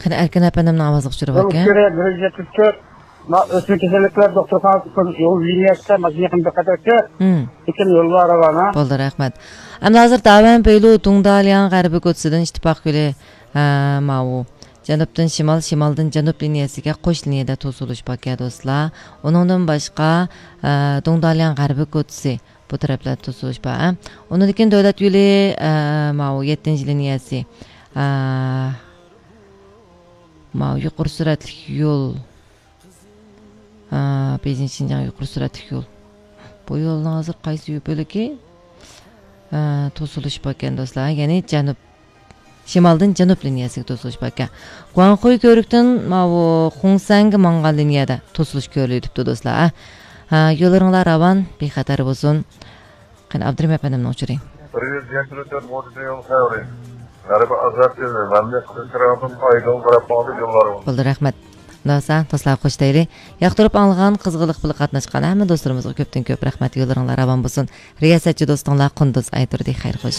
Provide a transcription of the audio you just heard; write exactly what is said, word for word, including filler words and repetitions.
قېنى، ئەركىن ئەپەندىمنىڭ ئاۋازىغا چۈشۈرۈۋەتكەن. يول ئۈچ يۈز يەتمىش تۆت، ما-، ئۆسمە كېسەللىكلەر دوختۇرخانىسى يول لىنىيەسىدە ماشىنا يېقىندا قاتناشتى. لېكىن يوللار راۋانە. بولدى، رەھمەت. ئەمدى ھازىر داۋەن بېيلۇ دۇڭدالياڭ غەربىي كوچىسىدىن ئىتتىپاق يولى، ھە، ماۋۇ جەنۇبتىن شىمال، شىمالدىن جەنۇب لىنىيەسىگە قوش لىنىيەدە توسۇلۇش باركەن، دوستلار. ئۇنىڭدىن باشقا، ھە، دۇڭدالياڭ غەربىي كوچىسى بۇ تەرەپلەردە توسۇلۇش بار، ھە. ئۇنىڭدىن كېيىن دۆلەت يولى، ھە، ماۋۇ يەتتىنچى لىنىيەسى، ھە، ماۋۇ يۇقىرى سۈرئەتلىك يول. ئا، بېيجىڭ شىنجاڭ يۇقىرى سۈرئەتلىك يول. بۇ يولنىڭ ھازىر قايسى يول بۆلىكى، ئا، توسۇلۇش باركەن، دوستلار؟ يەنى جەنۇب، شىمالدىن جەنۇب لىنىيەسىگە توسۇلۇش باركەن. گۇاڭخۇي كۆۋرۈكتىن ماۋۇ خۇڭسەنگە ماڭغان لىنىيەدە توسۇلۇش كۆرۈلۈۋېتىپتۇ، دوستلار. ھە، يوللىرىڭلار راۋان، بىخەتەر بولسۇن. قېنى، ئابدۇرېھىم ئەپەندىمنىڭ ئۇچۇرى. بىر يۈز يەتتە تۆت مودېل يول خەۋىرى. غەربىي ئازاد يولى، مەملىكەت تەرەپتىن ئايدىڭ تەرەپ ماڭىدۇ يوللار. بولدى، رەھمەت. مۇنداق بولسا، دوستلار، خوش دەيلى. ياقتۇرۇپ ئاڭلىغان، قىزغىنلىق بىلەن قاتناشقان ھەممە دوستلىرىمىزغا كۆپتىن كۆپ رەھمەت. يوللىرىڭلار راۋان بولسۇن. رىياسەتچى دوستۇڭلار قۇندۇز ئايتۇردى. خەير خوش.